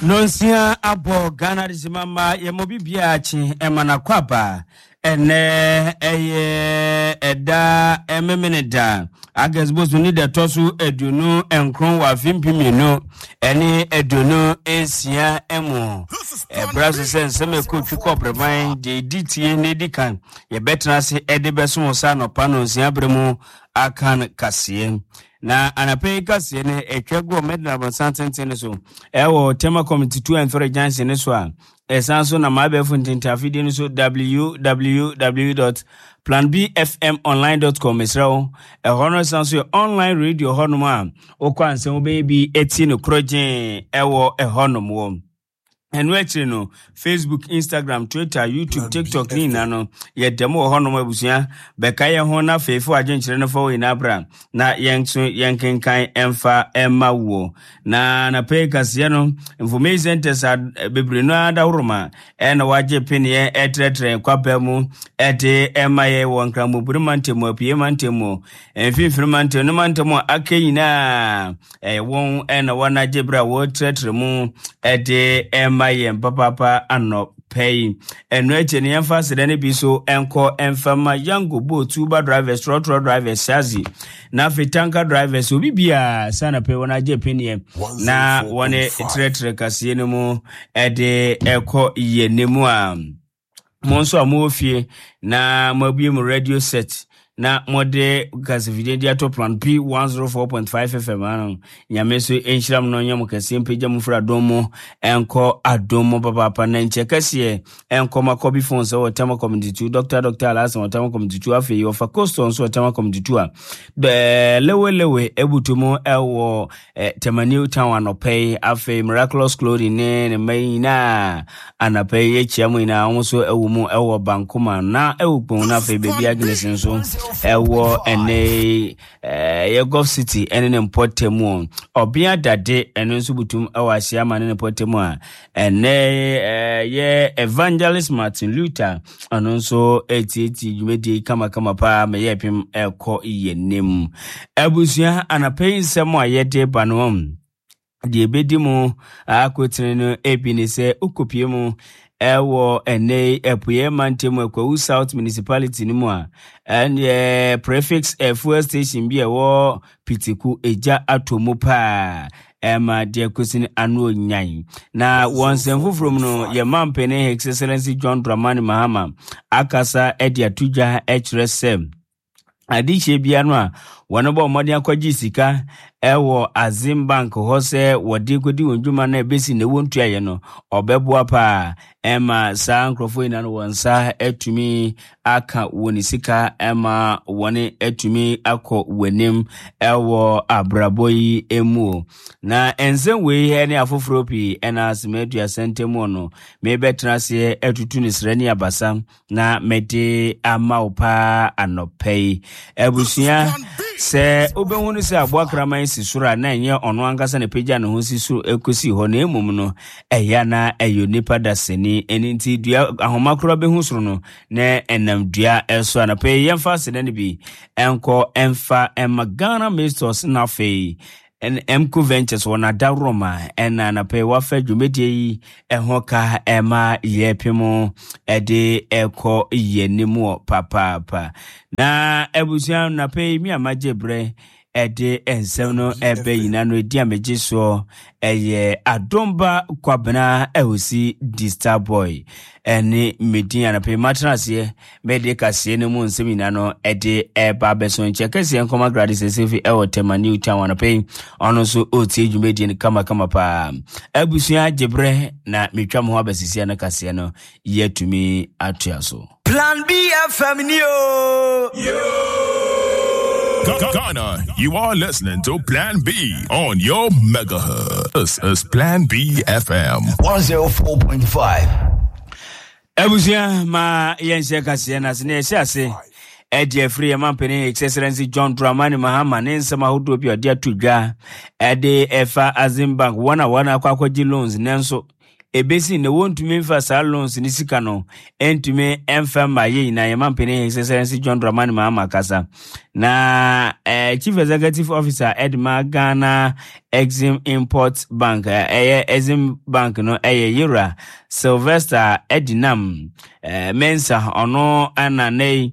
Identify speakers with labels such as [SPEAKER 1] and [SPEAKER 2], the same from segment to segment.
[SPEAKER 1] Nonsia abɔ Ghana Adesima mma yɛmmɔ biribiara kye ɛma no akɔ aba. Ɛnnɛ ɛyɛ ɛda Memeneda, August bosom ne da ɛtɔ so 29 wɔ afe 2026 mu. Ɛbra so sɛ nsɛm a ɛkɔ twi kɔ brɛman deɛ ɛdi tie na ɛdi kan yɛbɛtena ase ɛde bɛso wo sa anɔpa nonsia berɛ mu akan kaseɛ. Na anapa yi kaseɛ no ɛtwa gu Medina abɔnsan tenten no so ɛwɔ Tema Community 2 and 3 junction no so a ɛsan so nam abɛɛfo ntentafidie no so www.planbfmonline.com. Mesrɛ wo, ɛhɔ no san so yɛ online radio hɔnom a wokɔ ansɛm wobɛyɛ bi ɛti no korɔgyee ɛwɔ ɛhɔnom wɔ. Ɛno akyiri no, Facebook, Instagram, Twitter, YouTube, TikTok ne nyinaa no, yɛda mu wɔ hɔnom. Abusua, bɛka yɛn ho na afeefo adwenkyerɛ no fa wɔ nyinaa bra na yɛn nso yɛnkenkan ɛmfa ɛma woɔ. Na anapa yi kaseɛ no, information centers a bebree no ara dahoroma ɛna wagye peneɛ ɛtrɛtrɛ kwapa mu ɛde ɛma yɛ wɔ Nkramobuno mantam mu, Apue mantam mu, Mfimfini mantam ne mantam a aka nyinaa. Ɛyɛ wɔn na wɔn agye berɛ a wɔretrɛtrɛ mu de rema yɛn papaapa anɔpa yi. Ɛno akyi no, yɛmfa aseda no bi so nkɔ mfa ma Yango boat, Uber drivers, trɔtrɔ drivers, Shazi, na afei tanker drivers, obi biara sɛ anɔpa yi wɔn agye peneɛ na wɔn trɛtrɛ kaseɛ no mu de ɛkɔ yɛn anim a. Mo nso a mowɔ fie na moabue mo radio set na mode kasafidie de ato Plan P 104.5 FM ano. Nyame nso nhyira mo na ɔnyɛ mo kɛseɛ, mpagya mo firi adom mu ɛnkɔ adom mu papaapa, na nkyɛ kɛseɛ ɛnkɔ ma Kɔbi Phones wɔ Tema Community 2, Dr. Dr. Alhassan wɔ Tema Community 2, afei ɔfa Coastal nso wɔ Tema Community 2 a lewe lewe ebutu mu ɛwɔ Tema New Town anɔpa yi. Afei Miraculous Clothing ne ne mma yi nyinaa anɔpa yi yɛkyia mu nyinaa, wɔn nso ɛwɔ mu ɛwɔ Bankoma na ɛwɔ Kpong, na afei baabi Agnes nso ɛwɔ ɛnɛ ɛyɛ Gulf City ɛne ne mpɔtam mu. Ɔbea Dade ɛno nso butum ɛwɔ Asiama ne ne mpɔtam a ɛnɛ ɛyɛ Evangelist Martin Luther, ɔno nso ɛtietie dwumadie kamakama paa ma yɛ pem ɛkɔ yɛ nim. Abusua, anapa yi nsɛm a yɛde ba no, deɛ ɛbɛdi mu akotene no ebi ne sɛ wokɔpie mu ɛwɔ ɛnɛ Apueɛ mantam Akwawu South Municipality no mu a, ɛneɛ prefix fuel station bi a ɛwɔ Pitiku egya atɔ mu paa ɛma deɛ kɔsi no ano nyan. Na wɔ nsɛm foforɔ mu no, yɛn mampanin His Excellency John Dramani Mahama akasa de ato dwa kyerɛ sɛ adehyeɛ bia no a wɔn bɔ mmɔden akɔgye sika ɛwɔ Azim Bank hɔ sɛ wɔde kɔdi wɔn dwuma no a ɛbɛsi na ɛwɔ ntuaeɛ no, ɔbɛboa paa ɛma saa nkurɔfoɔ nyinaa no wɔn nsa atumi aka wɔn sika ma wɔn atumi akɔ wɔn anim wɔ abrabɔ yi mu. Na nsɛm wei ne afoforɔ pii ɛna asɛm 30 ntam no mebɛtena aseɛ atutu ne srɛ ne abasa na mede ama wo paa anɔpa yi. Abusua, sɛ wobɛhunu sɛ aboa kraman si soro a, na ɛnyɛ ɔno ankasa na pagya ne ho si soro ɛkɔsi hɔ, na mmom no ɛyɛ na ɛyɛ onipa dasani. Ɛno nti dua ahoma koraa bɛhu soro no na ɛnam dua ɛso. Anɔpa yi yɛmfa aseda no bi ɛnkɔ ɛmfa ɛma Ghana Masters na afei MCO Ventures wɔ n'adaworoma ɛna anɔpa yi wafa dwumadie yi ɛho ka ɛma yɛpem ɛde ɛkɔ yɛn anim wɔ papaapa. Na abusua, anɔpa yi mi a magye berɛ ɛde nsɛm no ɛbɛ nyina no, ɛdi a megye soɔ ɛyɛ Adomba Kwabena Ɛhosi di Star Boy ɛne medin. Anɔpa yi matena aseɛ mede kaseɛ no mu nsɛm nyinaa no ɛde ɛba abɛso. Nkyɛ kɛseɛ nkɔma Gladys Ɛsɛfi ɛwɔ Tema New Town. Anɔpa yi ɔno nso ɔretie dwumadie no kamakama paa. Abusua, gye berɛ na metwa mo ho abɛsisia no kaseɛ no yɛatumi atoa so.
[SPEAKER 2] Plan B FM ni o.
[SPEAKER 3] Ghana, you are listening to Plan B on your megahertz. This is Plan B FM.
[SPEAKER 2] 104.5.
[SPEAKER 1] Abusua, ma yɛnhyɛ kaseɛ no ase na yɛhyɛ ase ɛde afiri yɛn mampanin His Excellency John Dramani Mahama ne nsɛm ahodoɔ bi a ɔde ato dwa ɛde ɛfa Azim Bank, wɔn a wɔn akɔ akɔgye loans nanso Ɛbɛsi nnɛ wɔntumi mfa saa loans ne sika no ntumi mfa mma yɛ nyinaa. Yɛn mampanin His Excellency John Dramani Mahama kasa na Chief Executive Officer ɛde ma Ghana Exim Import Bank, ɛyɛ Exim Bank no, ɛyɛ Yewura Sylvester Edinam Mensah, ɔno ɛna nnɛ yi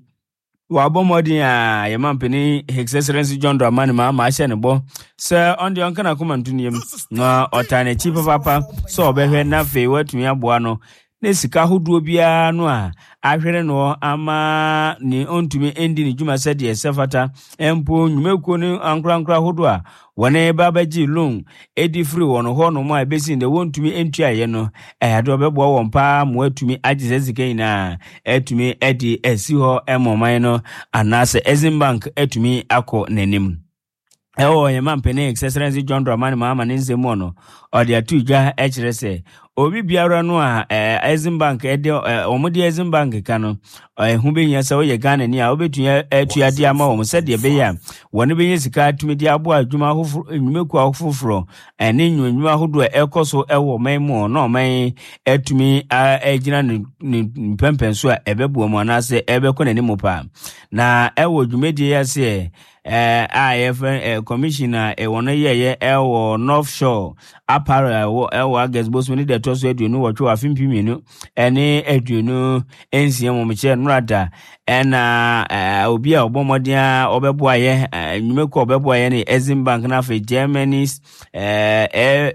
[SPEAKER 1] wabɔ mmɔden a yɛn mampanin His Excellency John Dramani Mahama ahyɛ ne bɔ sɛ ɔno deɛ ɔnka n'akoma nto ne yam na ɔtaa n'akyi papaapa sɛ ɔbɛhwɛ na afei watumi aboa no ne sika ahodoɔ biara no a ahwere no ama ne ɔntumi ndi ne dwuma sɛdeɛ ɛsɛ fata. Mpo nnwumakuo no ankorankora ahodoɔ a wɔne ba bɛgye loan ɛdi firi wɔn hɔ nom a ɛbɛsi ndɛ wɔntumi ntuaeɛ no, ɛyɛ adeɛ ɔbɛboa wɔn paa ma wɔatumi agye saa sika nyinaa atumi de asi hɔ ma ɔman no anaasɛ Exim Bank atumi akɔ n'anim. Ɛwɔ yɛn mampanin His Excellency John Dramani Mahama ne nsɛm mu no, ɔde ato dwa kyerɛ sɛ obi biara no a Exim Bank de wɔn de Exim Bank ka no, ɛho bɛhia sɛ woyɛ Ghana ni a wobɛtumi atua de ama wɔn sɛdeɛ ɛbɛyɛ a wɔn bɛnya sika atumi de aboa adwuma ahoforɔ, nnwumakuo afoforɔ ɛne nnwuma ahodoɔ a ɛkɔ so ɛwɔ ɔman mu na ɔman atumi agyina ne mpɛmpɛn so a ɛbɛboa mu anaasɛ ɛbɛkɔ n'anim paa. Na ɛwɔ dwumadie yi aseɛ a yɛfrɛ commission a wɔn yɛyɛ ɛwɔ North Shore Apparel ɛwɔ ɛwɔ August bosom ne deɛ ɛtɔ so 28 wɔ afe 2026 mu mekyerɛ nnora ɛna obi a ɔbɔ mmɔden a ɔbɛboa yɛ nnwumakuo a ɔbɛboa yɛ ne Exim Bank na afei Germany's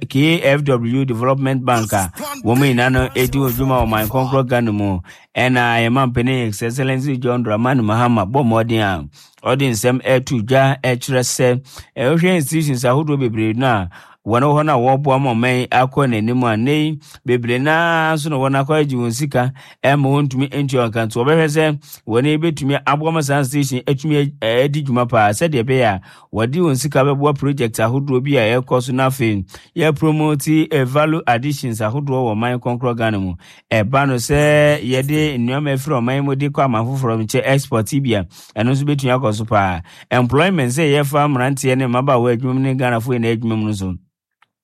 [SPEAKER 1] KfW Development Bank a wɔn nyinaa no ɛdi wɔn dwuma wɔ man kɔnkorɔ Ghana mu. Ɛna yɛn mampanin His Excellency John Dramani Mahama bɔ mmɔden a ɔde nsɛm ɛto dwa ɛkyerɛ sɛ ɛhwɛ institutions ahodoɔ bebree no a wɔn wɔ hɔ no a wɔreboa ma ɔman akɔ n'anim a nnɛ yi bebree naa nso na wɔn akɔ agye wɔn sika ɛma wɔntumi ntua wɔn ka, nti wɔbɛhwɛ sɛ wɔn bɛtumi aboa ma saa station atumi adi dwuma paa sɛdeɛ ɛbɛyɛ a wɔde wɔn sika bɛboa project ahodoɔ bi a ɛrekɔ so, na afei yɛ promote value additions ahodoɔ wɔ ɔman kɔnkorɔ Ghana mu. Ɛba no sɛ yɛde nneɛma afiri ɔman mu de kɔ aman foforɔ nkyɛ, export bi a, ɛno nso bɛtumi akɔ so paa. Employment, sɛ yɛfa mmeranteɛ ne mmabaawa adwuma mu ne Ghanafoɔ nyinaa adwuma mu no so,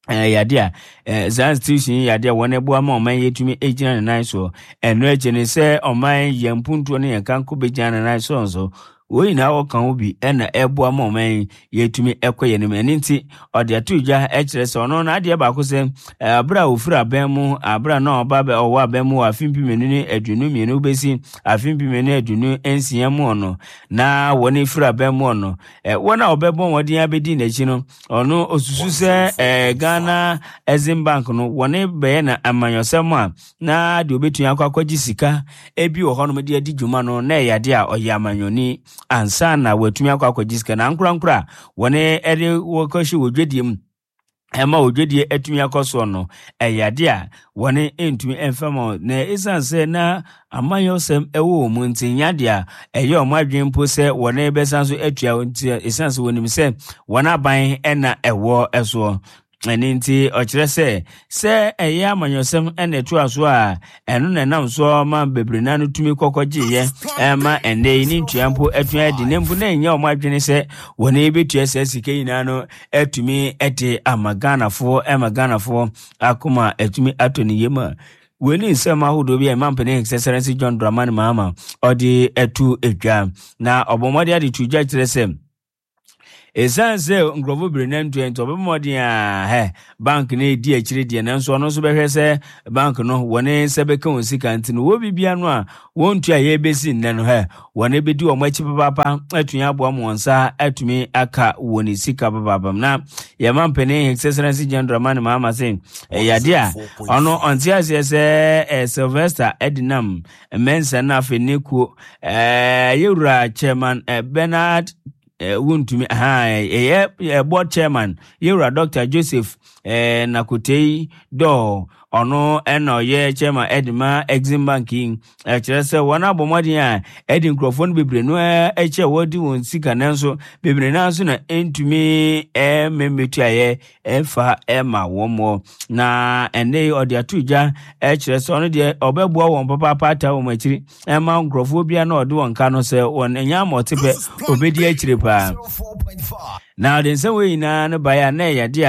[SPEAKER 1] yade a saa institution yi yade a wɔn ɛboa ma ɔman yɛtumi gyina ne nan soɔ. Ɛno akyi ne sɛ ɔman yɛn mpuntuo ne yɛn kanko bɛgyina ne nan soɔ nso, wɔn nyinaa wɔka ho bi ɛna ɛboa ma ɔman yɛtumi ɛkɔ yɛn anim. Ɛno nti ɔde ato dwa ɛkyerɛ sɛ ɔno n'adeɛ baako sɛ abere a ofiri abɛn mu, abere a na ɔba bɛ ɔwɔ abɛn mu wɔ afe 2022 bɛsi afe 2026 mu no, na wɔn efiri abɛn mu no, wɔn a ɔbɛbɔ wɔn abɛdi n'akyi no, ɔno osusu sɛ Ghana Exim Bank no wɔne bɛyɛ na amanyɔsɛm a na deɛ obɛtumi akɔ akɔgye sika ebi wɔ hɔnom de adi dwuma no na ɛyɛ adeɛ a ɔyɛ amanyɔni ansa na watumi akɔ akɔgye sika, na ankorankora a wɔne ɛde wɔkɔhyɛ wɔ dwadie mu ɛma odwadie atumi akɔ soɔ no, ɛyɛ adeɛ a wɔne ntumi mfa ma. Na ɛsiane sɛ na amanyɔsɛm ɛwɔ wɔn mu nti, nyɛ adeɛ a ɛyɛ wɔn adwene mpo sɛ wɔne bɛsan so atua, nti ɛsiane sɛ wɔnim sɛ wɔn aban ɛna ɛwɔ ɛsoɔ. Ɛno nti ɔkyerɛ sɛ ɛyɛ amanyɔsɛm ɛna ɛtoa so a, ɛno na ɛnam so ma bebree na no tumi kɔkɔ gyeeɛ ɛma ɛnɛ yi ne ntua mpo atua adi ne mpo na ɛnyɛ wɔn adwene sɛ wɔn bɛtua saa sika nyinaa no atumi de ama Ghanafoɔ, ɛma Ghanafoɔ akoma atumi atɔ ne yam. A wei ne nsɛm ahodoɔ bi a ɛma mpanin His Excellency John Dramani Mahama ɔde ato dwa, na ɔbɔ mmɔden ade to dwa kyerɛ sɛ ɛsiane sɛ nkurɔfoɔ bebree na ntua nti, ɔbɛbɔ mmɔden a hɛ bank no ɛdi akyire deɛ, nanso ɔno nso bɛhwɛ sɛ bank no wɔne nsa bɛka wɔn sika. Nti no wɔ bibia no a wɔntua yɛ bɛsi nnɛ no, hɛ wɔne bɛdi wɔn akyi papaapa atumi aboa ma wɔn nsa atumi aka wɔn sika papaapa. Na yɛma mpanin His Excellency John Dramani Mahama se ɛyɛ adeɛ a ɔno ɔnte aseɛ sɛ Sylvester Edinam Mensah no afei ne kuo yɛwura chairman Bernard Wontumi ɛyɛ board chairman yɛwura Dr Joseph Nakotei Dɔɔ, ɔno ɛna ɔyɛ chairman ɛde ma Exim Bank yi. Ɛkyerɛ sɛ wɔn abɔ mmɔden a ɛde nkurɔfoɔ no bebree no akyi a wɔde wɔn sika, nanso bebree no nso na ɛntumi mmɛmɛtuayɛ ɛfa ɛma wɔn mɔ. Na ɛnɛ yi ɔde ato dwa ɛkyerɛ sɛ ɔno deɛ ɔbɛboa wɔn papaapa ata wɔn akyiri ɛma nkurɔfoɔ bia na ɔde wɔn ka no sɛ wɔn ɛnyɛ ama ɔte pɛ, ɔbɛdi akyire paa. Na ɔde nsɛm wei nyinaa no baeɛ a na ɛyɛ adeɛ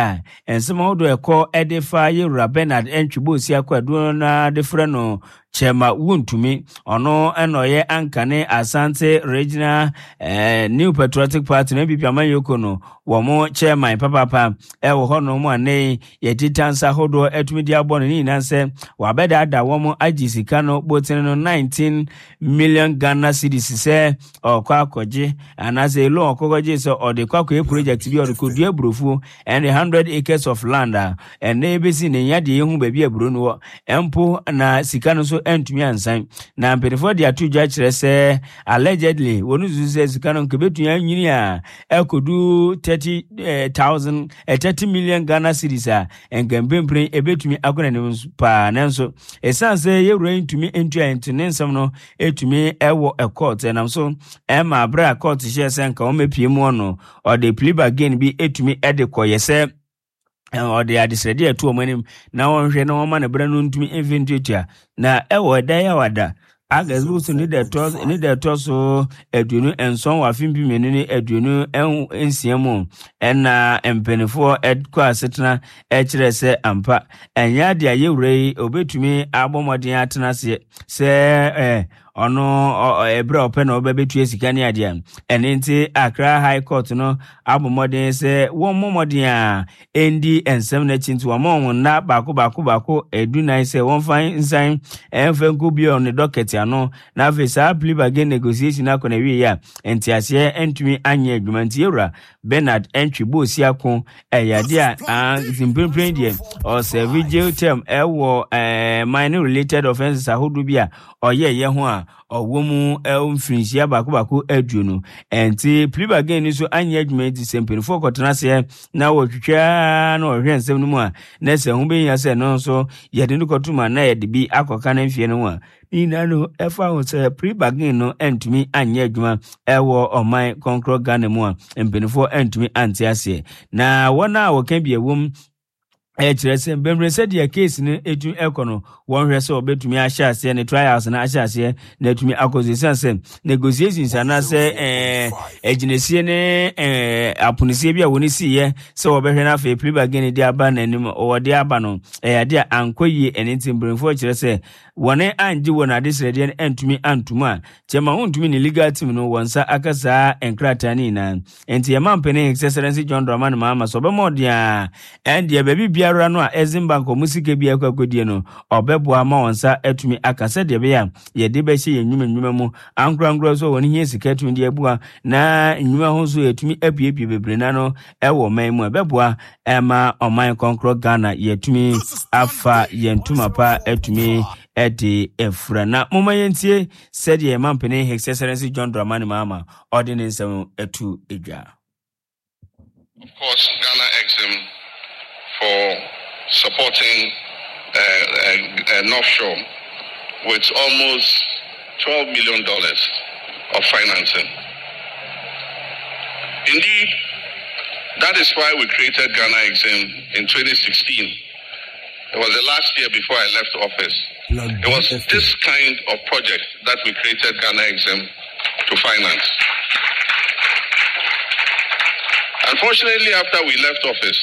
[SPEAKER 1] a nsɛm ahodoɔ ɛkɔ de fa yɛwura Bernard Antwi Bosia Kwadu no ara de frɛ no Kyɛma Wontumi. Ɔno na ɔyɛ ankane Asante Regional eh, New Patriotic Party no NPP amanyɔkuo no wɔn chairman papaapa ɛwɔ hɔnom a nnɛ yi yɛde tansa ahodoɔ atumi de abɔ no ne nyinaa sɛ wabɛdaadaa wɔn agye sika no botene no 19 million Ghana cedis sɛ ɔkɔ akɔgye anaasɛ loan ɔkɔkɔgye sɛ ɔde kɔ akɔyɛ project bi ɔde kɔdua aburofuo ɛne 100 acres of land a ɛnɛ ɛbɛsi ne nya deɛ yɛhu baabi aburo no wɔ mpo na sika no nso antumi ansan na mpanimfoɔ de ato dwa kyerɛ sɛ allegedly wɔn susu sɛ sika no nka bɛtumi anyini a ɛkɔdu 30,000 30 million Ghana cedis a nka mprempren ɛbɛtumi akɔ n'anim paa nanso ɛsiane sɛ yɛwura yi ntumi ntua nti ne nsɛm no ɛtumi ɛwɔ court ɛnam so ɛma berɛ a court hyɛɛ sɛ nka wɔmmɛpie mu no ɔde plea bargain bi ɛtumi ɛde kɔyɛ sɛ ɔde adesrɛdeɛ ɛto wɔn anim na wɔnhwɛ na wɔma ne berɛ no ntumi mfe ntuatua na ɛwɔ ɛda yi a wada August bosom ne da ɛtɔ ne da ɛtɔ so 27 wɔ afe 2026 mu ɛna mpanimfoɔ ɛkɔ asetena ɛkyerɛ sɛ ampa ɛnyɛ ade a yɛwura yi obetumi abɔ mmɔden atena aseɛ sɛ ɛɛ ɔno ɛberɛ a ɔpɛ na ɔbɛbɛtua sika ne adeɛ ɛne nti Accra High Court no abɔ mmɔden sɛ wɔmmɔ mmɔden a ɛndi nsɛm no akyi nti wɔma wɔn nna baako baako baako 14 sɛ wɔmfa nsan ɛmfa nkɔ bio ne dɔkɛt ano na afei saa plea bargain negotiation akɔ na wie a nteaseɛ ntumi anyɛ adwuma nti yɛwura Bernard Antwi Boasiako ɛyɛ adeɛ a nti mprempren deɛ ɔsɛve jail term ɛwɔ ɛɛ minor related offences ahodoɔ bi a ɔyɛɛyɛ ho a ɔwɔ mu mfirinhyia baako baako 20. Ɛnti plea bargain no nso anyɛ adwuma nti sɛ mpanimfoɔ kɔtena aseɛ na wɔtwitwa na wɔhwɛ nsɛm no mu a na sɛ ho bɛhia sɛ no nso yɛde no kɔto mu a na yɛde bi akɔka no mfeɛ no ho a ne nyinaa no ɛfa ho sɛ plea bargain no antumi anyɛ adwuma ɛwɔ ɔman kɔnkorɔ Ghana mu a mpanimfoɔ antumi ante aseɛ na wɔn a wɔka bi ɛwom ɛkyerɛ sɛ mbɛmmerɛ sɛdeɛ case no ɛtumi ɛkɔ no wɔnhwɛ sɛ wɔbɛtumi ahyɛ aseɛ ne trials no ahyɛ aseɛ na atumi akɔ so ɛsiane sɛ negotiations anaasɛ ɛɛ agyinasie ne ɛɛ aponosie bi a wɔn siiɛ sɛ wɔbɛhwɛ no afei plea bargain de aba n'anim wɔde aba no ɛyɛ adeɛ a ankɔ yie. Ɛne nti mpanimfoɔ kyerɛ sɛ wɔne angye wɔn adesrɛdeɛ no antumi antom a kyɛma wontumi ne legal team no wɔn nsa aka saa nkrataa no nyinaa. Enti yɛma mpanin His Excellency John Dramani Mahama sɛ ɔbɛma ɔden a ɛndeɛ baabi biara no a Exim Bank ɔmo sika bi akɔ akɔdie no ɔbɛboa ma wɔn nsa atumi aka sɛdeɛ ɛbɛyɛ a yɛde bɛhyɛ yɛn nnwuma nnwuma mu ankorankora nso a wɔn hia sika atumi de abua na nnwuma ho nso yɛtumi abuebue bebree na no ɛwɔ ɔman mu a ɛbɛboa ɛma ɔman kɔnkorɔ Ghana yɛtumi afa yɛn ntoma pa atumi ɛde afura. Na momma yɛntie sɛdeɛ yɛma mpanin His Excellency John Dramani Mahama ɔde ne nsɛm atu dwa.
[SPEAKER 4] Of course, Ghana Exim for supporting North Shore with almost $12 million of financing. Indeed, that is why we created Ghana Exim in 2016. It was the last year before I left office. It was this kind of project that we created Ghana Exim to finance. Unfortunately, after we left office,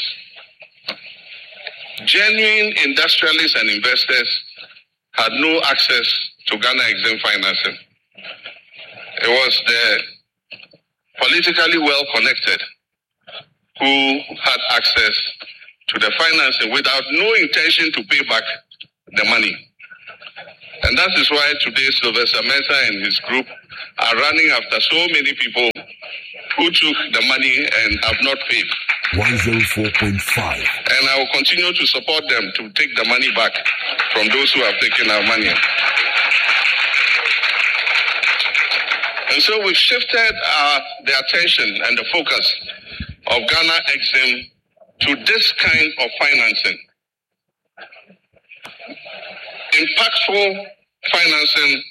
[SPEAKER 4] genuine industrialists and investors had no access to Ghana Exim financing. It was the politically well connected who had access to the financing without no intention to pay back the money. And that is why today Sylvester Mensah and his group are running after so many people who took the money and have not paid.
[SPEAKER 5] 104.5.
[SPEAKER 4] And I will continue to support them to take the money back from those who have taken our money. And so we've shifted the attention and the focus of Ghana Exim to this kind of financing. Impactful financing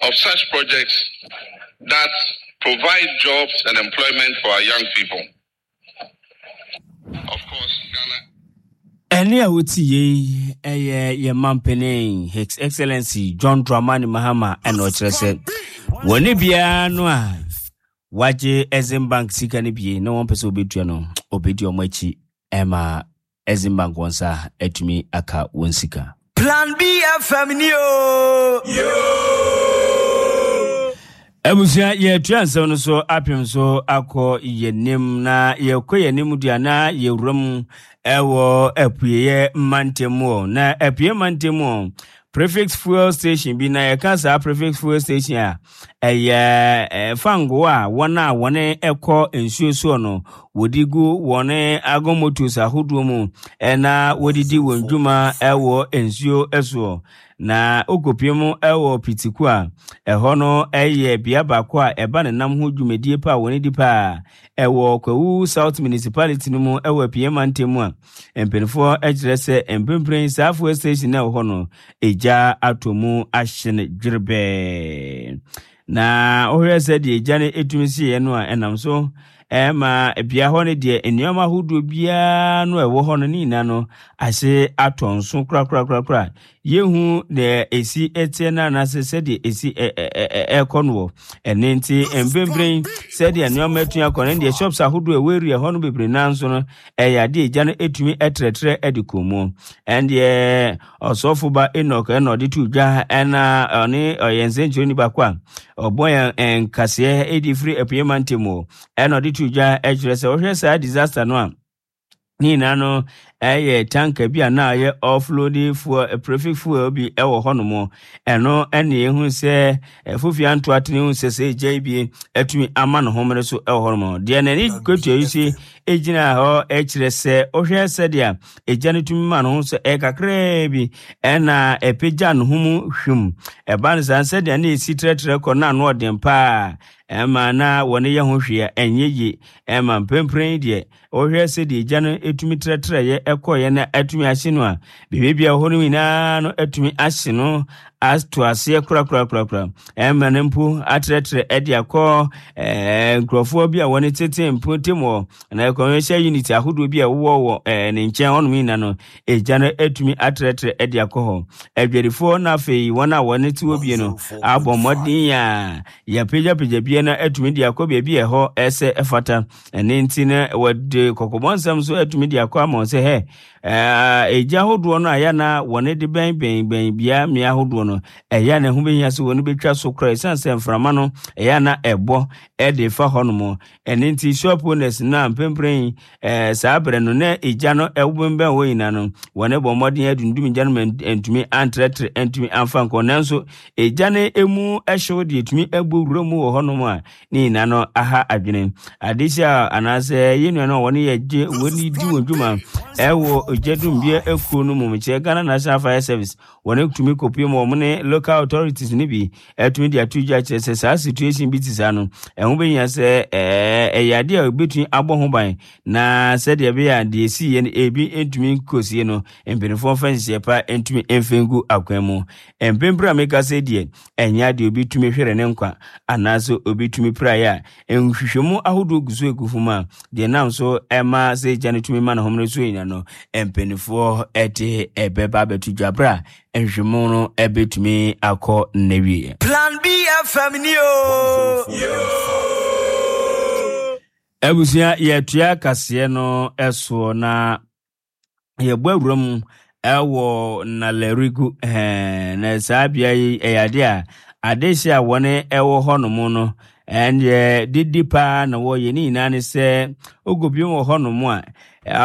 [SPEAKER 4] of such projects that provide jobs and employment for our young people. Of course, Ghana.
[SPEAKER 1] Ɛnne a wotie yi ɛyɛ yɛn mampanin His Excellency John Dramani Mahama ɛna ɔkyerɛ sɛ wɔne biara no a wagye Exim Bank sika no bie na wɔmpɛ sɛ wɔbɛtua no, ɔbɛdi wɔn akyi ma Exim Bank wɔn nsa atumi aka wɔn sika.
[SPEAKER 2] Plan B FM ni o.
[SPEAKER 1] Abusua, yɛtua nsɛm no so apem so akɔ yɛnim na yɛkɔ yɛnim deɛ na yɛwura mu ɛwɔ apueɛ mantam mu na apueɛ mantam mu prefix fuel station bi na yɛka saa prefix fuel station a ɛyɛ fango a wɔn a wɔn ɛkɔ nsuo soɔ no wɔde gu wɔn agomotos ahodoɔ mu ɛna wɔde di wɔn dwuma ɛwɔ nsuo soɔ. Na okopie mu ɛwɔ Pitiku a ɛhɔ no ɛyɛ bea baako a ɛba ne nam ho dwumadie pa a wɔn di paa ɛwɔ Kwawu South Municipality no mu ɛwɔ Apue mantam mu a mpanimfoɔ kyerɛ sɛ mprempren saa fuel station na ɛwɔ hɔ no egya atɔ mu ahye no dwerebɛɛ. Na wohwɛ sɛ deɛ egya no etumi sieɛ no a ɛnam so ɛma bea hɔ no deɛ nneɛma ahodoɔ biara no a ɛwɔ hɔ no ne nyinaa no ahye atɔ nso korakorakorakora. Yɛhu deɛ ɛsi ɛteɛ no anaasɛ sɛdeɛ ɛsi ɛkɔ no wɔ ɛne nti mprempren sɛdeɛ nneɛma atumi akɔ no deɛ shops ahodoɔ ɛwɔ area hɔ no bebree naa nso no ɛyɛ adeɛ egya no ɛtumi ɛtrɛtrɛ ɛde kɔ mu. Ɛndeɛ ɔsɔfo ba Enoch ɛna ɔde to dwa ɛna ɔne ɔyɛ nsɛnkyerɛni baako a ɔbɔ yɛn nkaseɛ ɛdi firi Apueɛ mantam mu ɛna ɔde to dwa ɛkyerɛ sɛ wohwɛ saa disaster no a ne nyinaa no ɛyɛ tanka bi a na ayɛ offload fuel prefix fuel bi ɛwɔ hɔnom ɛno ɛne ehu sɛ ɛfofia ntoatene hu sɛ sɛ egya yi bi atumi ama ne homene so ɛwɔ hɔnom deɛ n'ani kɔtua yi si egyina hɔ ɛkyerɛ sɛ wohwɛ sɛdeɛ egya no tumi ma ne ho sɛ ɛyɛ kakraa bi ɛna ɛpagya ne ho mu hwim ɛba no saa sɛdeɛ na esi trɛtrɛ kɔ na ano ɔden paa ɛma na wɔne yɛ ho hwee a ɛnyɛ yie ɛma mprempren deɛ Wohwɛ sɛdeɛ egya no tumi trɛtrɛeɛ kɔeɛ na atumi ahye no a, biribi a ɛwɔ hɔ no nyinaa no atumi ahye no ato aseɛ korakorakorakora. Ɛma no mpo atrɛtrɛ de akɔ nkurɔfoɔ bi a wɔne tete mpɔtam wɔ na commercial unit ahodoɔ bi a ɛwowɔ wɔ ne nkyɛn hɔnom nyinaa no, egya no atumi atrɛtrɛ de akɔ hɔ. Adwadifoɔ na afei wɔn a wɔne te hɔ bie no abɔ mmɔden a yɛapagyapagya bie no atumi de akɔ baabi a ɛhɔ ɛsɛ ɛfata. Ɛno nti no, wɔde kɔkɔbɔ nsɛm nso atumi de akɔ ama wɔn sɛ, hɛ, egya ahodoɔ no a ɛyɛ na wɔne de bɛn bɛn bɛn bea mmea ahodoɔ no, ɛyɛ na ɛho bɛhia sɛ wɔne bɛtwa so koraa ɛsiane sɛ mframa no ɛyɛ na ɛbɔ ɛde fa hɔ nom. Ɛno nti shop owners no a mprempren saa berɛ no na egya no ɛbɛnbɛn hɔ nyinaa no, wɔne bɔ mmɔden adundum gya no ma ntumi antrɛtrɛ ntumi amfa nkɔ. Nanso egya no emu ɛhyew deɛ ɛtumi ɛbɔ wura mu wɔ hɔnom a ne nyinaa no aha adwene. Adehye a anaasɛ yɛn nuanom a wɔne yɛ gye wɔn di wɔn dwuma ɛwɔ ogya dumbea akuo no mu mekyerɛ Ghana National Fire Service wɔn tumi kɔpue mu wɔn ne local authorities no bi ɛtumi de ato dwa kyerɛ sɛ saa situation bi te saa no ɛho bɛhia sɛ ɛyɛ adeɛ a ɛbɛtumi abɔ ho ban na sɛdeɛ ɛbɛyɛ a deɛ ɛsiiɛ no ebi ntumi nkɔsie no mpanimfoɔ mfa nhyehyɛeɛ pa ntumi mfa ngu akwan mu. Mpempere a meka sɛ deɛ ɛnyɛ adeɛ obi tumi hwere ne nkwa anaasɛ obi tumi piraeɛ a nhwehwɛmu ahodoɔ gu so egu fam a deɛ nam so ɛma sɛ gya no tumi ma ne homene so nyina no mpanimfoɔ ɛde ɛbɛba abɛto dwa berɛ a nhwehwɛmu no ɛbɛtumi akɔ n'awieɛ.
[SPEAKER 2] Plan B FM ni o.
[SPEAKER 1] Abusua yɛtua kaseɛ no soɔ na yɛbɔ awura mu ɛwɔ Nalerigu ɛɛ na saa bea yi ɛyɛ adeɛ a adehye a wɔne ɛwɔ hɔnom no ɛndeɛ didi paa na wɔyɛ ne nyinaa ne sɛ ogobiem wɔ hɔnom a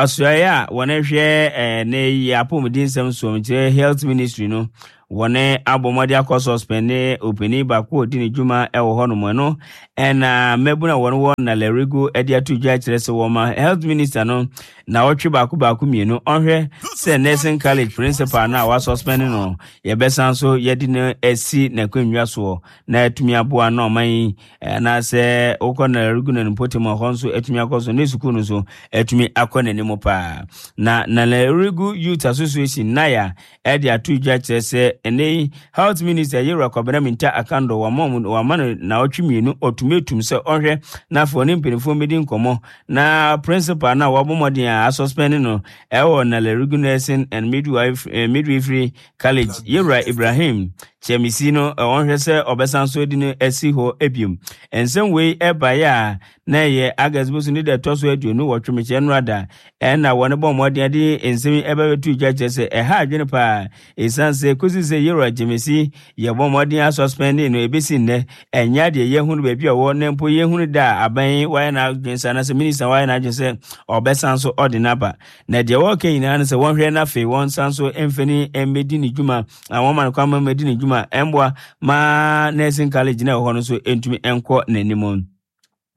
[SPEAKER 1] asoɛeɛ a wɔne hwɛ ɛɛ ne yɛ apɔmuden nsɛm soɔ nkyerɛ health ministry no Wɔne abɔ mmɔden akɔ suspend ne ɔpanin baako a ɔdi ne dwuma wɔ hɔnom. Ɛno ɛna mmabunu a wɔn wɔ Nalerigu de ato dwa kyerɛ sɛ wɔma health minister no naawɔtwe baako baako mmienu ɔnhwɛ sɛ nursing college principal no a wɔasuspend no yɛbɛsan so yɛde no asi n'akonnwa soɔ na atumi aboa na ɔman yi anaasɛ wokɔ Nalerigu na ne mpɔtam a hɔ nso atumi akɔ so ne sukuu no nso atumi akɔ n'anim. n'anim paa. Na Nalerigu Youth Association, NAYA, ɛde ato dwa kyerɛ sɛ ɛnɛ yi Health Minister Yewura Kwabena Mintah Akandoh wama wɔn wama no naawɔtwe mmienu ɔtumetum sɛ ɔnhwɛ na afei ɔne mpanimfoɔ mmɛdi nkɔmmɔ na principal no a wabɔ mmɔden a asuspend no ɛwɔ Nalerigu Nursing and Midwife, eh, Midwifery College Yewura Ibrahim Kyamisi no ɔnhwɛ sɛ ɔbɛsan so de no asi hɔ biom. Nsɛm wei ɛbaeɛ a na ɛyɛ August bosom ne da ɛtɔ so 28 mekyerɛ nnora da ɛna wɔne bɔ mmɔden de nsɛm yi ɛba bɛto dwa kyerɛ sɛ ɛha adwene paa ɛsiane sɛ kɔsi sɛ Yewura Gyemesi yɛbɔ mmɔden asɔspɛnde no ɛbɛsi nnɛ ɛnyɛ adeɛ yɛhunu baabi a ɔwɔ na mpo yɛhunu da a aban yi wayɛ n'adwene sɛ anaasɛ minista wayɛ n'adwene sɛ ɔbɛsan so ɔde no aba. Na deɛ wɔreka nyinaa ne sɛ wɔnhwɛ na afei wɔnsan so mfani mmɛdi ne dwuma na wɔma no kwan ma mmɛdi ne dwuma ɛmboa ma nursing college na ɛwɔ hɔ no nso ntumi nkɔ n'anim.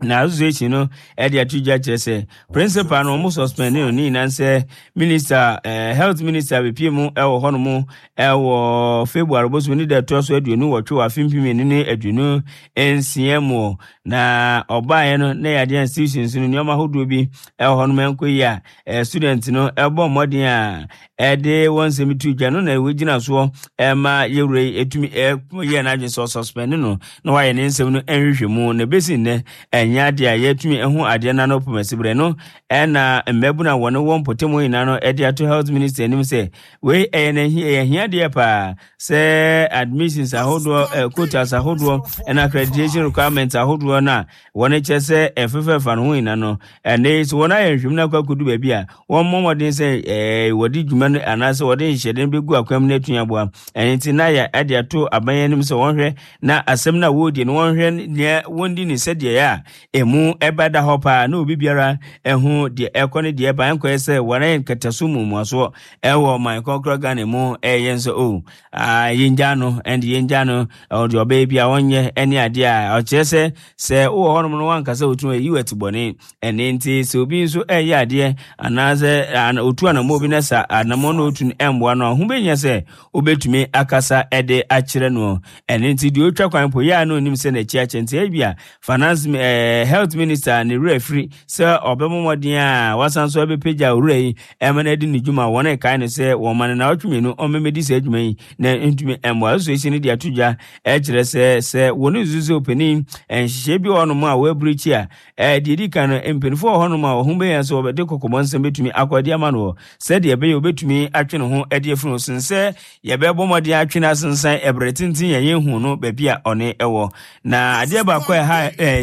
[SPEAKER 1] Na association no ɛde ato dwa kyerɛ sɛ principal no wɔn suspend no ne nyinaa sɛ minister eh, health minister bepie mu ɛwɔ hɔ nom ɛwɔ February bosom ne da ɛtoa so 28 wɔ afe 2026 mu. Na ɔbaeɛ no na yɛadeɛ institutions no nneɛma ahodoɔ bi ɛwɔ hɔ nom ɛnkɔ yi a eh, student no ɛbɔ mmɔden a ɛde wɔn nsɛm to dwa no na wɔgyina soɔ ɛma yɛwura yi ɛtumi ɛyɛ n'adwene sɛ ɔsuspend no na wayɛ ne nsɛm no nhwehwɛ mu. Na ɛbɛsi nnɛ ɛnyɛ adeɛ a yɛatumi ɛho adeɛ no ano pomasiberɛ no ɛna mmabunu a wɔne wɔ mpɔtam nyinaa no ɛde ato health minister anim sɛ wei ɛyɛ n'ahi ɛyɛ ahiadeɛ paa sɛ admissions ahodoɔ eh, quotas ahodoɔ ɛna accreditation requirements ahodoɔ no a wɔn kyerɛ sɛ ɛfefɛfa no ho nyina no ɛnɛ sɛ wɔn ayɛ nhwɛmu no akɔ akɔdu baabi a wɔn mmɔ mmɔden sɛ ɛɛ wɔde dwuma no anaasɛ wɔde nhyɛde no bɛgu akwan mu no atumi aboa. Ɛno nti na yɛ ɛde ato aban anim sɛ wɔnhwɛ na asɛm no a wɔredi no wɔnhwɛ nea wɔndi ne sɛdeɛ ɛyɛ a ɛmu ɛbɛda hɔ paa na obi biara ɛho deɛ ɛkɔ ne deɛ ɛba ɛnkɔyɛ sɛ wɔn ayɛ nkataso mmuasoɔ ɛwɔ ɔman kɔnkɔrɔ Ghana mu ɛyɛ nso o oh, ah, yɛngya no ɛnde yɛngya no ɔde ɔbɛyɛ bi a ɔnyɛ ɛne adeɛ a ɔkyerɛ sɛ sɛ wowɔ hɔnom no wankasa wotumi ayi wɔ atibɔne. Ɛne nti sɛ obi nso ɛyɛ adeɛ anaasɛ otu anammɔ bi na sa anammɔ no otu no ɛmmoa no a ho bɛhia sɛ wobɛtumi akasa ɛde akyerɛ no. Ɛne nti deɛ ɔtwa kwan po yɛ a na onim sɛ n'akyi akyɛ nti ebi a finance eh, health minister ne werɛ afiri sɛ ɔbɛbɔ mmɔden a wasan so ɛbɛpagya owura yi ɛma no adi ne dwuma. Wɔn ɛkae no sɛ wɔn ma no naawɔtwe mmienu ɔmmɛmɛdi saa adwuma yi na ntumi mmoa. Association no de ato dwa ɛkyerɛ sɛ sɛ wɔn nsusu sɛ ɔpanin nhyehyɛe bi wɔ hɔnom a wɔaburikyi a ɛɛ deɛ ɛdi kan no mpanimfoɔ wɔ hɔnom a wɔn ho bɛyɛ sɛ wɔbɛde kɔkɔbɔ nsɛm bɛtumi akɔ adi ama no wɔ sɛdeɛ ɛbɛyɛ wɔbɛtumi atwe ne ho adi afiri ho sen sɛ yɛbɛbɔ mmɔden atwe no asensan ɛberɛ tenten yɛn yɛnhu no baabi a ɔne ɛwɔ. Na adeɛ baako a ɛha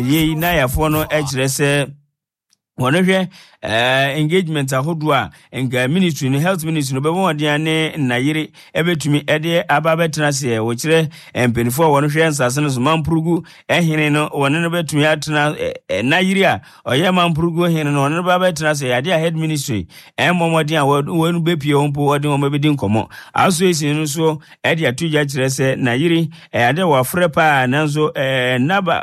[SPEAKER 1] yei nayafoɔ no kyerɛ sɛ wɔn hwɛ engagement ahodoɔ a nka ministry no health ministry no bɛbɔ mmɔden ne nnayere ɛbɛtumi ɛde aba abɛtena aseɛ. Wɔkyerɛ mpanimfoɔ a wɔn hwɛ nsase no so mampurugu hene no wɔne no bɛtumi atena nnayere a ɔyɛ mampurugu hene no wɔne no bɛba abɛtena ase. Adeɛ a head ministry ɛmmɔ mmɔden a wɔn bɛpie wɔn mpo wɔde wɔn bɛdi nkɔmmɔ. Association no so ɛde ato dwa kyerɛ sɛ nayere ɛyɛ adeɛ a wɔafrɛ paa nanso nnaba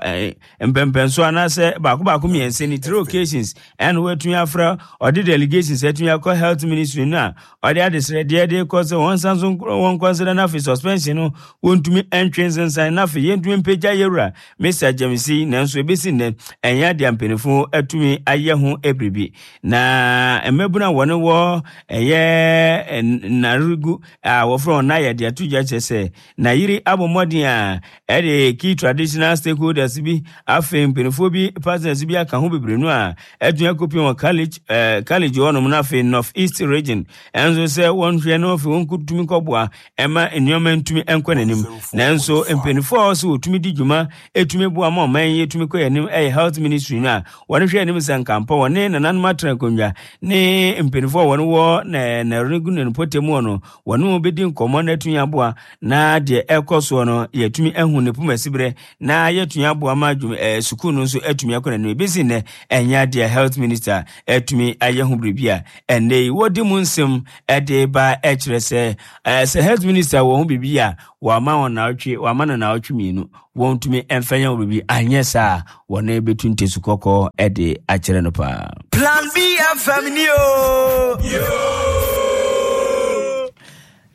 [SPEAKER 1] mpɛmpɛnso anaasɛ baako baako mmiɛnsa ni three occasions ɛna wɔatumi afrɛ ɔde delegations atumi akɔ health ministry no a ɔde adesrɛdeɛ de kɔ sɛ wɔn nsa so wɔn nkɔnsɛdɛ no afei suspension no wɔntumi ntwe nsensan no afei yɛntumi mpagya yɛwura Mr. Gyamisi. Nanso ebesi nnɛ ɛnyɛ adeɛ a mpanimfoɔ atumi ayɛ ho biribi. Na mmabunu a wɔne wɔ ɛyɛ nnaregu a wɔfrɛ wɔn nayɛ de ato dwa kyerɛ sɛ Nayiri abɔ mmɔden a ɛde key traditional stakeholders bi afei mpanimfoɔ bi partners bi aka ho bebree no a atumi akɔpie wɔ college eh, college hɔnom no afei North East region ɛnso sɛ wɔnhwɛ no afei wɔnkɔtumi kɔboa ɛma nneɛma ntumi nkɔ n'anim. Nanso mpanimfoɔ a wɔsɛ wɔtumi di dwuma ɛtumi boa ma ɔman yi ɛtumi kɔ anim ɛyɛ health ministry no a wɔn hwɛ anim sɛ nkampɔ wɔne nananom atena akonnwa ne mpanimfoɔ a wɔn wɔ na na regu ne mpɔtam hɔ no wɔne wɔn bɛdi nkɔmmɔ na atumi aboa na deɛ ɛkɔ soɔ no yɛatumi ahu ne poma siberɛ na yɛatumi aboa ma adwuma ɛɛ sukuu no nso atumi akɔ n'anim. Ebesi nnɛ ɛnyɛ adeɛ a health minister atumi ayɛ ho biribi a ɛnnɛ yi wɔde mu nsɛm ɛde ba ɛkyerɛ sɛ ɛɛ sɛ health minister wɔ ho biribi a wɔama wɔn naawɔtwe wɔama no naawɔtwe mmienu wɔntumi mfa nyɛ ho biribi anyɛ saa a wɔne bɛtu ntesu kɔkɔɔ ɛde akyerɛ no paa.
[SPEAKER 2] Plan B FM ni o.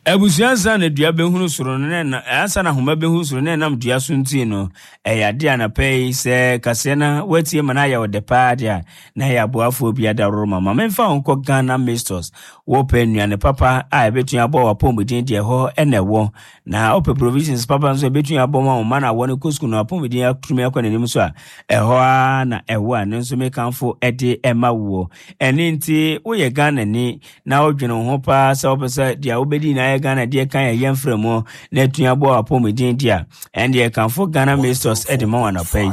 [SPEAKER 1] Abusua ansa na dua bɛhunu soro no na ansa na ahoma bɛhunu soro na ɛnam dua so nti no, ɛyɛ adeɛ anapa yi sɛ kaseɛ na woatie ma no ayɛ wo dɛ paa deɛ a, na ɛyɛ aboafoɔ bi adaworo ma. Ma memfa wo nkɔ Ghana Mistors. Wopɛ nnuane papa a ɛbɛtumi aboa w'apɔmuden deɛ ɛhɔ na ɛwɔ. Na wopɛ provisions papa nso a ɛbɛtumi abɔ ma wo mma no a wɔne kɔ sukuu no apɔmuden atumi akɔ n'anim nso a, ɛhɔ ara na ɛwɔ a ne nso mekamfo de ɛma woɔ. Ɛno nti woyɛ Ghanani na wodwene wo ho paa sɛ wopɛ sɛ deɛ wobɛdi nyinaa yɛ Ghana deɛ kan ɛyɛ mfrɛ mu na atumi aboa w'apɔmuden deɛ a, ɛndeɛ kamfo Ghana Masters de ma wo anɔpa yi.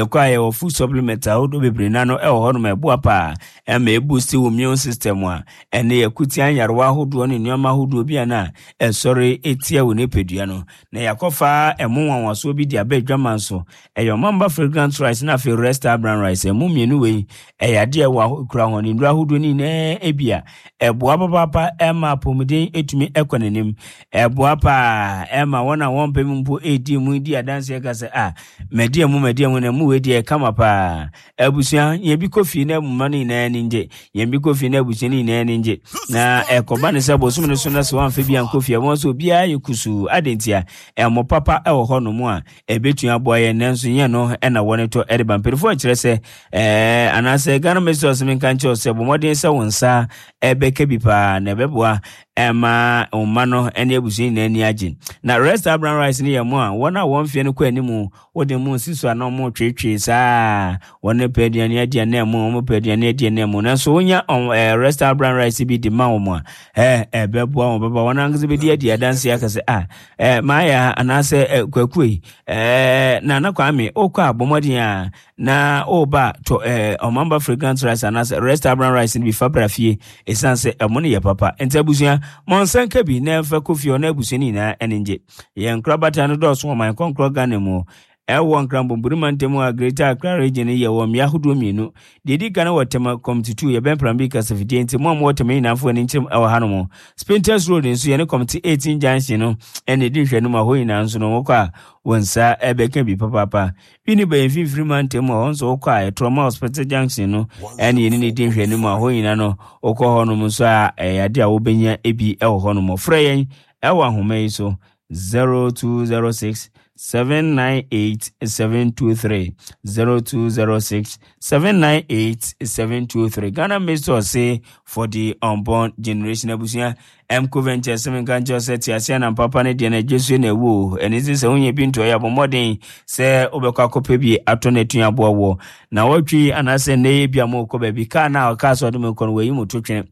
[SPEAKER 1] Yɛkɔ a yɛwɔ food supplement ahodoɔ bebree na no ɛwɔ hɔnom ɛboa paa ɛma ɛboost wo immune system a ɛne yɛko tia nyarewa ahodoɔ ne nneɛma ahodoɔ bi a na ɛsɔre tia wo nipadua no. Na yɛakɔfa ɛmo nwanwasoɔ bi de aba adwaman so. Ɛyɛ ɔmamba fragrant rice na afei resta brown rice. Ɛmo mmienu wei ɛyɛ adeɛ ɛwɔ kura ho ne nnuro ahodoɔ no nyinaa ebi a ɛboa papaapa ɛma apɔmuden ɛtumi ɛkɔ n'anim. Ɛboa paa ɛma wɔn a wɔmpɛ mu mpo ɛredi mu di adanseɛ ka sɛ ah madi ɛmo madi ɛmo na ɛmo wei deɛ ɛkama paa. Abusua, yɛn bi kɔ fie na mma no nyinaa ani ngye. Yɛn bi kɔ fie na abusua no nyinaa ani ngye. Na ɛkɔba ne sɛ bosom no so na sɛ wɔamfa bi ankɔ fie a, wɔn nso obiara yɛ kusuu. Adɛn ntia? Ɛmo papa wɔ hɔnom a ɛbɛtumi aboa yɛn, nanso nyɛ no na wɔne tɔ de ba. Mpanimfoɔ kyerɛ sɛ, ɛɛ, anaasɛ Ghana Ministry of menka nkyerɛ sɛ bɔ mmɔden sɛ wo nsa ɛbɛka bi paa na ɛbɛboa ɛma wo mma no ne abusua nyinaa ani agye. Na Rest Brown Rice no yɛ mo a wɔn a wɔn mfeɛ no kɔ anim Wode mo nsi so a na wɔn retweetwee saa wɔn pɛ aduane adi anaa mu wɔn pɛ aduane adi anaa mu nanso wonya wɔn ɛɛ resta brown rice bi de ma wɔn a ɛɛ ɛbɛboa wɔn bɛba wɔn ankasa bɛdi adi adanse aka sɛ a ɛɛ maaya anaasɛ ɛɛ kwaku yi ɛɛ nana kwame okɔ a bɔ mmɔden a na ɔreba tɔ ɛɛ ɔmamba fragrant rice anaasɛ resta brown rice no bi fa bra fie esan sɛ ɛmo no yɛ papa nti abusua mo nsa nka bi na ɛmfa kɔ fie ɔno abusua no nyinaa ɛne ngye. Yɛn nkorabata no dɔɔso wɔ ɔman kɔnkorɔ Ghana mu. Ɛwɔ Nkrambɔnburi mantam a Greater Accra Region no yɛ wɔ mmea ahodoɔ mmienu. Deɛ ɛdi kan wɔ Tema Committee 2, yɛbɛn Prambi kasafidie nti mo a mowɔ Tema nyinaa mfa w'ani nkyerɛm ɛwɔ hanom. Spintex Road nso yɛne Committee 18 Junction no ɛna ɛdi nhwɛanim a hɔ nyinaa nso no wokɔ a wo nsa ɛbɛka bi papaapa. Winneba yɛ mfimfini mantam a hɔ nso wokɔ a ɛtorɔma Hospital Junction no ɛne yɛne ne di nhwɛanim a hɔ nyinaa no wokɔ hɔnom nso a ɛyɛ adeɛ a wobɛnya bi ɛwɔ hɔnom. Frɛ yɛn Ɛwɔ ahoma yi so, 0206 798 723, 0206 798 723. Ghana Mixed ɔse for the unborn generation abusua. MCO Ventures sɛ menka nkyerɛ sɛ te aseɛ na mpapa no deɛ no adwasuo na ɛwɔ o. Ɛno nti sɛ wonya bi ntɔ yɛ abɔ mmɔden sɛ wobɛkɔ akɔpɛ bi atɔ no atumi aboa woɔ. Na wɔtwe anaasɛ nnɛ yɛ bi a mokɔ baabi kaa no a ɔkaa sɛ ɔde mo kɔ no wayi mo to twene.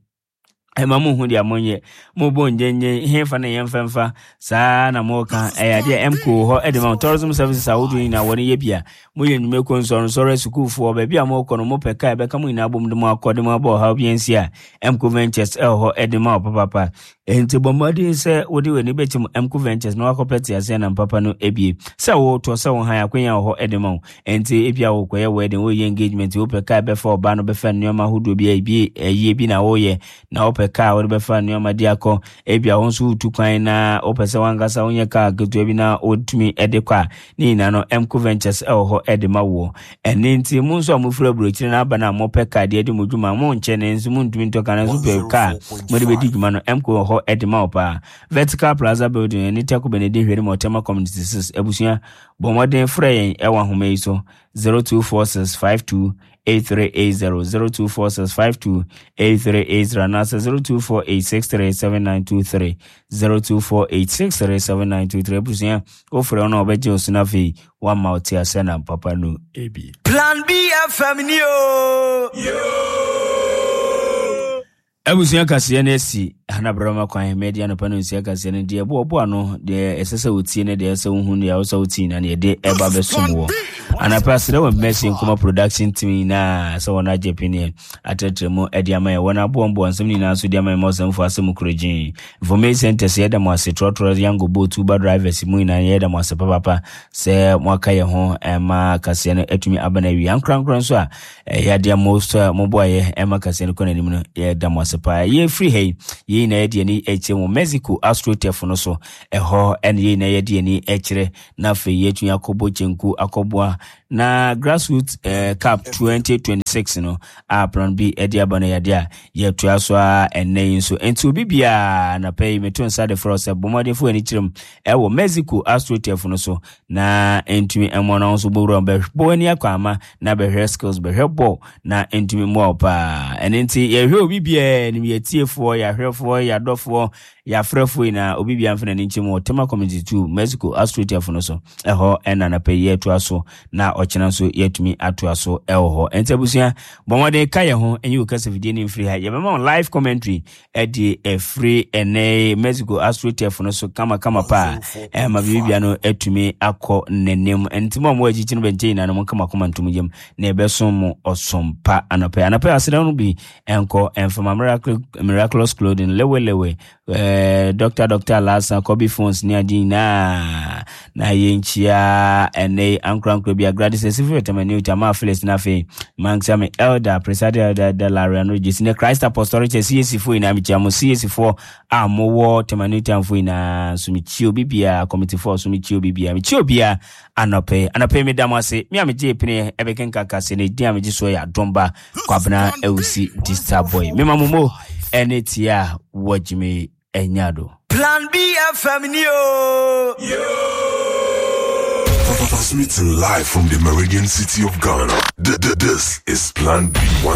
[SPEAKER 1] Ɛma monhu deɛ monyɛ. Mobɔ ngyenngyen, hefa na yɛmfa mfa? Saa na moka. Ɛyɛ adeɛ a MCO wɔ hɔ de ma mo. Tourism services ahodoɔ nyinaa wɔne yɛ bia. Moyɛ nnwumakuo, nsɔrensɔre, asukuufoɔ, baabi a mokɔ no mopɛ kaa ɛbɛka mo nyinaa bom de mo akɔ de mo aba ɔhaw bi ansi a, MCO Ventures ɛwɔ hɔ de ma wo papaapa. Enti bɔ mmɔden sɛ wode w'ani bɛkyim MCO Ventures na woakɔpɛ teaseɛnam papa no bi. Sɛ wotɔ, sɛ wohan, akwanya wɔ hɔ de ma wo. Enti ebia worekɔyɛ wedding, woreyɛ engagement, wopɛ kaa bɛfa ɔbaa no bɛfa nneɛma ahodoɔ bi a ebi ayie bi na woreyɛ, na wopɛ kaa a wode bɛfa nneɛma de akɔ. Ebia wo nso woretu kwan na wopɛ sɛ w'ankasa wonyɛ kaa ketewa bi na wotumi de kɔ a, ne nyinaa no MCO Ventures wɔ hɔ de ma woɔ. Ɛno nti mo nso a mofiri aburokyire no aba no a mopɛ kaa de adi mo dwuma, monkyɛ nanso montumi ntɔ kaa nanso pɛ kaa mode bɛdi dwuma no, MCO wɔ hɔ de ma wo paa. Vertical Plaza Building, ɛne Taku Benedi Hwere Mɔtɛma Community 6, abusua. Bɔ mmɔden frɛ yɛn wɔ ahoma yi so, 0246 52 8380, 0246 52 8380 anaasɛ 0248 63 7923, 0248 63 7923. Abusua, wofrɛ wo na wɔbɛgye wo so na afei woama wo te asɛ na papa no bi.
[SPEAKER 2] Plan B FM ni o.
[SPEAKER 1] Abusua kaseɛ no asi Hana Brɛma kwan mɛdi anɔpa no nsia kaseɛ no deɛ ɛboɔ ɔboa no deɛ ɛsɛ sɛ wotie ne deɛ ɛsɛ wohu deɛ ɛsɛ wotie nyinaa ne yɛde ɛba bɛsom wɔ anapa serɛ wɔ mmɛsi nkɔma production team nyinaa sɛ wɔn agye peneɛ atrɛtrɛ mu ɛde ama yɛ wɔn aboɔmboɔ nsɛm nyinaa nso de ama yɛ ma ɔsɛmfo asɛm kuro gyen information center sɛ yɛda mo ase trɔtrɔ yango boat uber drivers mu nyinaa yɛda mo ase papapa sɛ moaka yɛ ho ɛma kaseɛ no atumi aba no awie ankorankora nso a Ɛyɛ adeɛ a mo nso a moboaeɛ ɛma kaseɛ no kɔ n'anim no, yɛda mo ase paa. Yɛfiri ha yi, yɛn nyinaa yɛde ani kyerɛ mu Mexico AstroTurf no so. Ɛhɔ ɛna yɛn nyinaa yɛde ani kyerɛ na afei yɛatumi akɔbɔ kyenku akɔboa na Grassroots eh, Cup 2026. 6 no a Plan B de aba no yɛ adeɛ a yɛtoa so ara ɛnnɛ yi nso. Nti obi biara anapa yi meto nsa de frɛ wo sɛ bɔ mmɔden fa w'ani kyerɛ mu ɛwɔ Mexico AstroTurf no so na ntumi mmoa no nso bɔwura mu bɛbɔ w'ani akɔ ama na bɛhwɛ skills bɛhwɛ bɔɔl na ntumi mmoa wo paa. Ɛno nti yɛhwɛ obi biara anim, yɛtiefoɔ, yɛahwɛfoɔ, yɛadɔfoɔ, yɛafrɛfoɔ nyinaa, obi biara mfa n'ani nkyɛ mu wɔ Tema Community 2 Mexico AstroTurf no so. Ɛhɔ ɛna anapa yi yɛtoa so na ɔkyena nso yɛatumi atoa so ɛwɔ hɔ. Ɛnti abusua, bɔ mmɔden ka yɛn ho ɛnyi wo kasafidie no mfiri ha. Yɛbɛma wo live commentary ɛde ɛfiri ɛnɛ Mexico AstroTurf no so kamakama paa ɛma biribia no atumi akɔ n'anim. Ɛnti mo a mowɔ akyikyi no bɛnkyɛ nyinaa no monka mo akoma ntom yam na yɛbɛsom mo ɔsom pa anɔpɛ. Anɔpɛ aseda no bi ɛnkɔ ɛmfama miracle, miraculous clothing lewelewe eh, Dr. Dr. Alasa Kobe phones ne ade nyinaa na yɛnkyia ɛnɛ ankorankora bi agrade sɛ sifi vitamin Tama Phyllis na afei manksa me elder presiding elder elder Larry ano gyesi ne Christ Apostolic Church CAC foɔ nyinaa mekyia mo CAC foɔ a mowɔ Tema New Town foɔ nyinaa nso mekyia obi biara committee foɔ nso mekyia obi biara mekyia obiara anɔpɛ anɔpɛ meda mo ase me a megye pene ɛbɛkenka kase ne din a megye soɔ yɛ adomba Kwabena Awusi Dista Boy mema mo mo ɛne tie a wɔgyeme anya do.
[SPEAKER 2] Plan B FM ni o.
[SPEAKER 5] Transmitting live from the Meridian City of Ghana. This is Plan B.